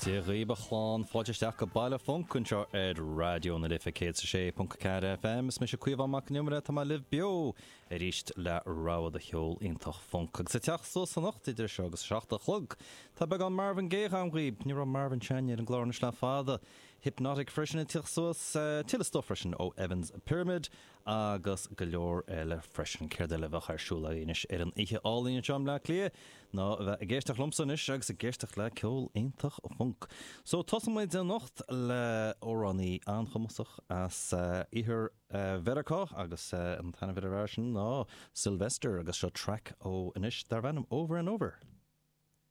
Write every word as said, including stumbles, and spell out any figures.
Dia dhaoibh a chlann fáilte isteach go Baile Func anseo ar Raidió na Life céad is a sé ponc a ceathair FM is mise Caomhán Mac Con Iomaire tá mé libh beo arís le rogha de cheol iontach func agus ag teacht suas anocht idir seo agus seacht a chlog. Tá beagán Marvin Gaye agam dhaoibh, ní raibh Marvin seinnte ar an gclár anois le fada. Hypnotic freisin ag teacht suas tuilleadh stuif freisin ó Evans Pyramid agus go leor eile freisin céard eile a bheadh ar siúl anois ar an oíche álainn anseo i mBleá Cliath ná a bheith ag éisteacht liomsa anois agus ag éisteacht le ceol iontach funk. So tosóidh muid anocht le amhránaí an-chumasach as iarthar Mheiriceá agus an t-ainm ar sin ná Sylvester agus seo track ó anois darb ainm Over and Over.